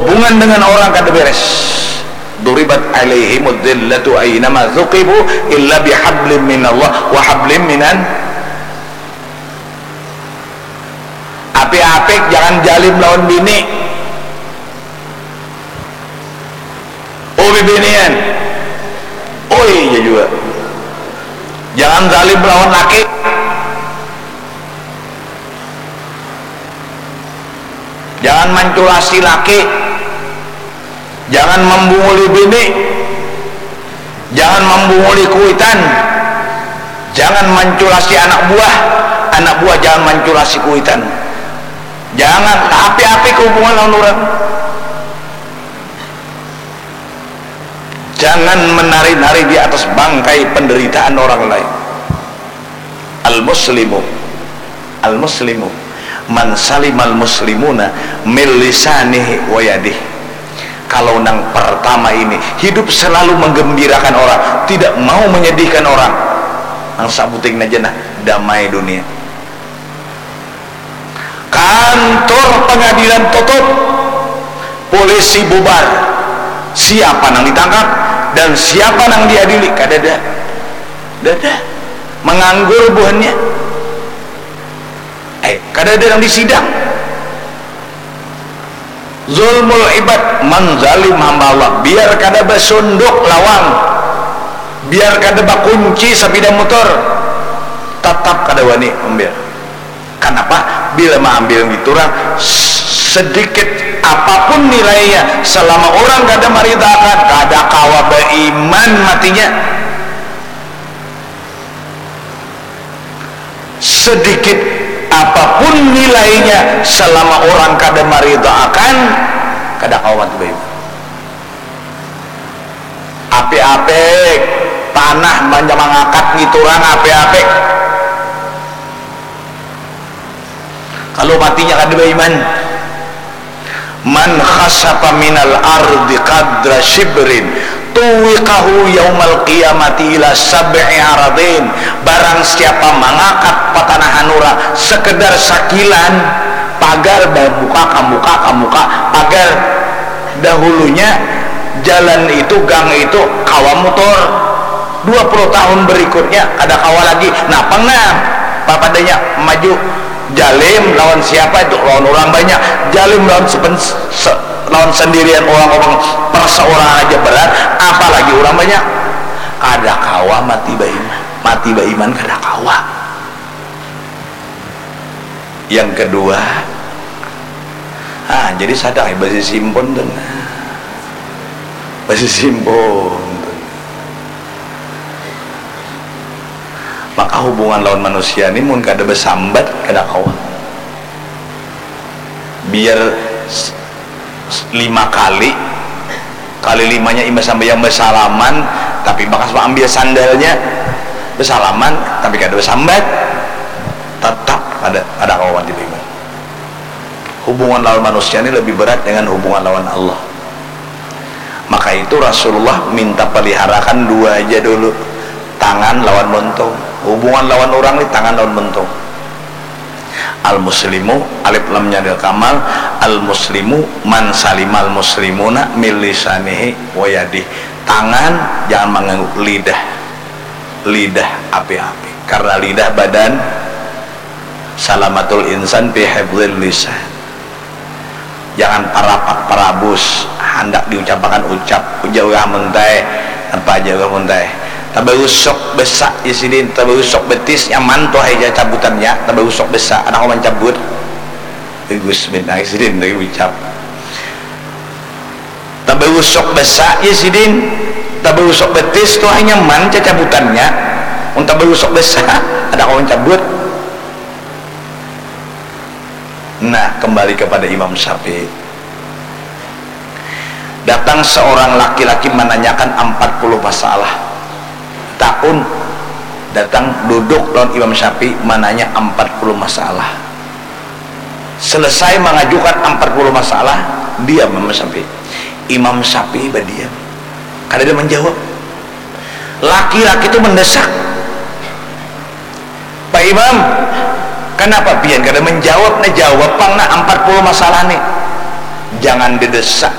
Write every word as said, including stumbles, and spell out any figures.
Hubungan dengan orang kada beres. Duribat alaihimud dzillatu ainama tsuqifu illa bihablim minallah wa hablim minan. Apik-apik, jangan jalim lawan bini. Oh, bibinian. Oh, iya juga. Jangan zalim lawan laki. Jangan manculasi laki. Jangan mambunguli bini. Jangan mambunguli kuitan. Jangan manculasi anak buah. Anak buah jangan manculasi kuitan. Jangan, apik-apik hubungan lawan urang. Jangan menari-nari di atas bangkai penderitaan orang lain. Al-muslimu, al-muslimu, man salimal muslimuna min lisanihi wa yadih. Kalau nang pertama ini, hidup selalu menggembirakan orang, tidak mau menyedihkan orang. Nang sabuting aja nah, damai dunia. Kantor pengadilan tutup, polisi bubar. Siapa nang ditangkap dan siapa nang diadili? Kadada. Dada. Menganggur buhannya. Eh, kadada nang disidang. Zulmul ibad, manzalim hamba Allah. Biar kada basunduk lawang, biar kada bakunci sapida mutur, tatap kada wani ambil. Kanapa? Bila maambil ngitu urang, sedikit apapun nilainya, selama urang kada maridakan, kada kawa baiman matinya. Sedikit apapun nilainya, selama urang kada maridaakan, kada kawa mati baiman. Apik-apik, tanah banyak mangakat ngitu urang, apik-apik. Kalau matinya kada baiman. Man khasafa minal ardi qadra shibrin tuwiqahu yaumal qiyamati ila sab'i aradin. Barang siapa mangakat patanahan urang sekedar sakilan, pagar bamuka kamuka kamuka, pagar dahulunya jalan itu, gang itu kawa mutur. Dua puluh tahun berikutnya kada kawa lagi. Napang nah papadanya maju. Jalim lawan siapa itu? Lawan urang banyak. Jalim lawan sepen, se, lawan sendirian urang, urang perseorang aja berat, apalagi urang banyak. Kada kawa mati baiman. Mati baiman kada kawa. Yang kedua, ah, jadi sadang ai basisimpun tu nah. Basisimpun tu. Maka hubungan lawan manusia ni mun kada basambat kada kawa. Biar s-, s-, lima kali, kali limanya imbah sambayang basalaman, tapi bakas maambil sandalnya, basalaman tapi kada basambat, tatap kada, kada kawa mati baiman. Hubungan lawan manusia ni lebih berat dengan hubungan lawan Allah. Maka itu Rasulullah minta peliharakan dua aja dulu, tangan lawan muntung. Hubungan lawan urang ni tangan lawan muntung. Al muslimu, alif lamnya lil kamal, al muslimu man salimal muslimuna min lisanihi wa yadih. Tangan jangan mangganggu lidah. Lidah apik-apik. Karena lidah badan, salamatul insan fi hifdzil lisan. Jangan parapak parabus, handak diucapakan ucap, ujar urang muntai, napa aja urang muntai. Tabarusuk basa ya sidin, tabarusuk betis nyaman tuh ai ja cabutannya, tabarusuk basa, kada kawa mancabut. Bagus banar sidin tadi ucap. Tabarusuk basa ya sidin, tabarusuk betis tuh ai nyaman cacabutannya. Mun tabarusuk basa, kada kawa mancabut. Nah, kembali kepada Imam Syafi'i. Datang seorang laki-laki menanyakan empat puluh masalah. Takun, datang duduk lawan Imam Syafi'i, menanya empat puluh masalah. Selesai mengajukan empat puluh masalah, diam Imam Syafi'i. Imam Syafi'i badiam. Kada ada menjawab. Laki-laki tu mendesak. Pak Imam, kanapa pian kada menjawab? Nah, jawab pang nah empat puluh masalah nih. Jangan didesak